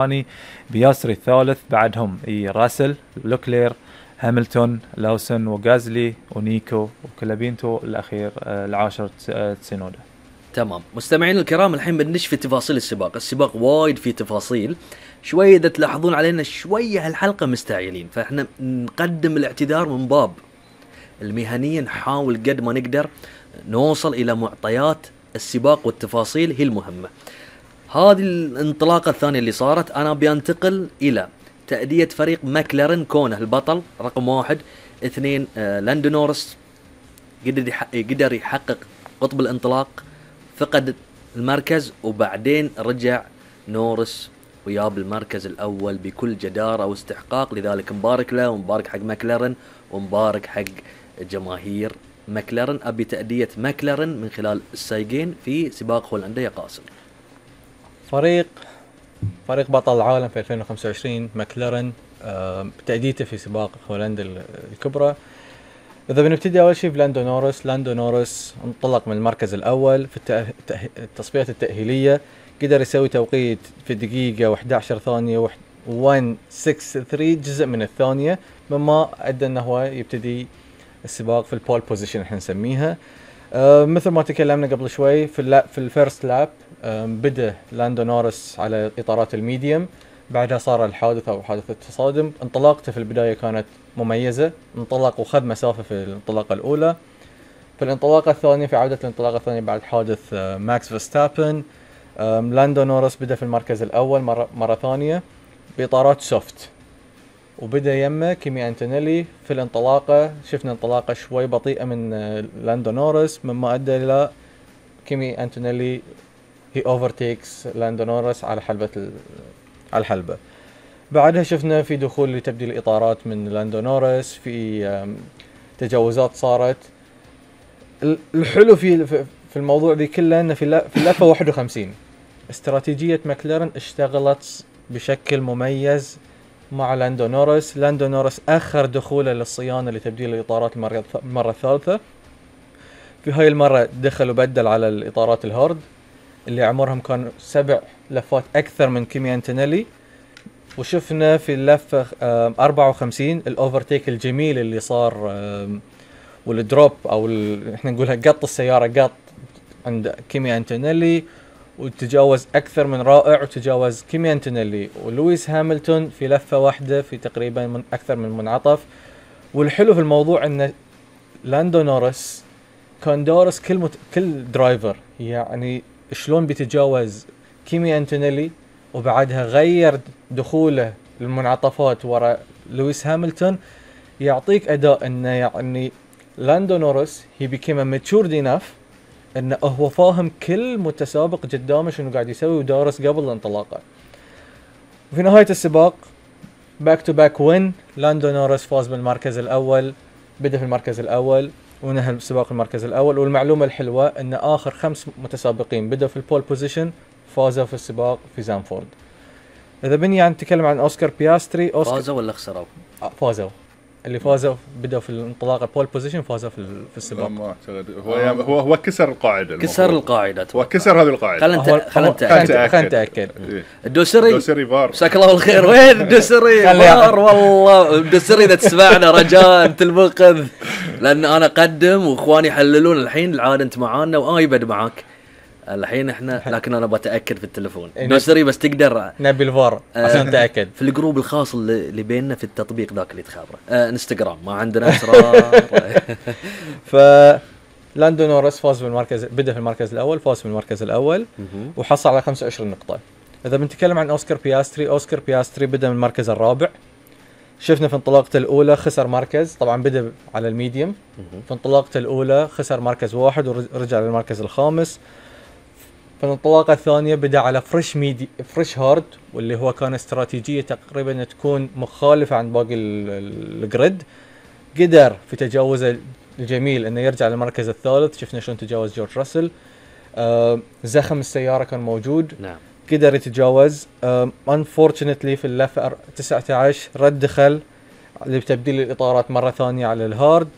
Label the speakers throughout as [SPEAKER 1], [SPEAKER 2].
[SPEAKER 1] الثاني، بياسري الثالث، بعدهم راسل، لوكلير، هاملتون، لاوسن وغازلي ونيكو وكلابينتو الأخير العاشر تسونودا.
[SPEAKER 2] تمام مستمعين الكرام، الحين بندش في تفاصيل السباق وايد في تفاصيل شوية. إذا تلاحظون علينا شوية هالحلقة مستعجلين، فإحنا نقدم الاعتذار من باب المهنية، نحاول قد ما نقدر نوصل إلى معطيات السباق والتفاصيل هي المهمة. هذه الانطلاقة الثانية اللي صارت، أنا بينتقل إلى تأدية فريق ماكلارن كونه البطل رقم 1. 2 لاندو نورس قدر يحقق قطب الانطلاق، فقد المركز وبعدين رجع نورس وياب المركز الأول بكل جدارة واستحقاق. لذلك مبارك له ومبارك حق ماكلارن ومبارك حق جماهير ماكلارن. أبي تأدية ماكلارن من خلال السايقين في سباق هولندا يا قاسم.
[SPEAKER 3] فريق بطل العالم في 2025 ماكلارن تأديته في سباق هولندا الكبرى. إذا بنبتدي أول شيء لاندو نورس انطلق من المركز الأول في التصفيات التأهيلية، قدر يسوي توقيت في دقيقة و11 ثانية و1.63 جزء من الثانية، مما أدى أنه هو يبتدي السباق في البول بوزيشن احنا نسميها. مثل ما تكلمنا قبل شوي في الفيرست لاب بدأ لاندو نورس على إطارات الميديوم، بعدها صار الحادث أو حادث التصادم. انطلاقته في البداية كانت مميزة، انطلق وخذ مسافة في الانطلاقة الأولى. في الانطلاقة الثانية، في عودة الانطلاقة الثانية بعد حادث ماكس فيرستابن، لاندو نورس بدأ في المركز الأول مرة ثانية بإطارات سوفت، وبدأ يمه كيمي أنتونيلي. في الانطلاقة شفنا انطلاقة شوي بطيئة من لاندو نورس، مما أدى إلى كيمي أنتونيلي هي overtakes لاندو نورس على الحلبة. بعدها شفنا في دخول لتبديل الإطارات من لاندو نورس، في تجاوزات صارت. الحلو في الموضوع دي كله أن في اللفة 51 استراتيجية ماكلارن اشتغلت بشكل مميز مع لاندو نورس أخر دخوله للصيانة لتبديل الإطارات المرة الثالثة. في هاي المرة دخل وبدل على الإطارات الهارد اللي عمرهم كان 7 لفات أكثر من كيمي أنتونيلي. وشفنا في اللفة 54 الأوفرتيك الجميل اللي صار، والدروب أو احنا نقولها قط السيارة قط عند كيمي أنتونيلي، وتجاوز أكثر من رائع، وتجاوز كيمي أنتونيلي ولويس هاملتون في لفة واحدة في تقريبا من أكثر من منعطف. والحلو في الموضوع أن لاندو نورس كان دارس كل درايفر، يعني شلون بيتجاوز كيمي أنتونيلي، وبعدها غير دخوله للمنعطفات وراء لويس هاملتون. يعطيك أداء أنه يعني لاندو نورس he became matured enough أنه هو فاهم كل متسابق قدامه شنو قاعد يسوي ودارس قبل الانطلاقة. وفي نهاية السباق back to back win، لاندو نورس فاز بالمركز الأول، بدأ في المركز الأول ونهى السباق المركز الأول. والمعلومة الحلوة أن آخر 5 متسابقين بدأوا في البول بوزيشن فازوا في السباق في زانفورد. إذا بني نتكلم عن أوسكار بياستري،
[SPEAKER 2] فازوا ولا خسروا؟
[SPEAKER 3] فازوا. اللي فازوا بدأوا في الانطلاقة البول بوزيشن فازوا في السباق.
[SPEAKER 4] ما أعتقد هو كسر القاعدة.
[SPEAKER 3] هو
[SPEAKER 4] كسر هذه القاعدة.
[SPEAKER 3] خلنا نتأكد.
[SPEAKER 2] الدوسري
[SPEAKER 4] فار.
[SPEAKER 2] مساك الله بالخير. وين الدوسري؟ فار والله. الدوسري إذا تسمعنا رجاء أنت المنقذ، لأن أنا قدم وإخواني يحللون الحين. العادة أنت معانا وآيبد معاك الحين احنا، لكن انا بتاكد في التليفون دوسري بس تقدر
[SPEAKER 3] نبي الفار عشان نتاكد
[SPEAKER 2] في الجروب الخاص اللي بيننا في التطبيق ذاك اللي تخابره انستغرام، ما عندنا اسرار.
[SPEAKER 3] ف لاندو نورس فاز بالمركز، بدا في المركز الاول، فاز بالمركز الاول وحصل على 25 نقطه. اذا بنتكلم عن اوسكار بياستري بدا من المركز الرابع. شفنا في انطلاقته الاولى خسر مركز، طبعا بدا على الميديوم. في انطلاقته الاولى خسر مركز 1 ورجع للمركز الخامس. في الانطلاقة الثانية بدأ على فريش هارد، واللي هو كان استراتيجية تقريبا تكون مخالفة عن باقي الجريد. قدر في تجاوزه الجميل انه يرجع للمركز الثالث. شفنا شلون تجاوز جورج راسل. زخم السيارة كان موجود.
[SPEAKER 2] نعم.
[SPEAKER 3] قدر يتجاوز. unfortunately في اللفة 19 رد دخل لتبديل الإطارات مرة ثانية على الهارد.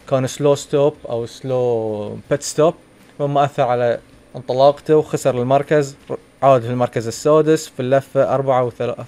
[SPEAKER 3] كان سلو ستوب أو سلو بيت ستوب، مما أثر على انطلاقته وخسر المركز. عاد في المركز السادس في اللفة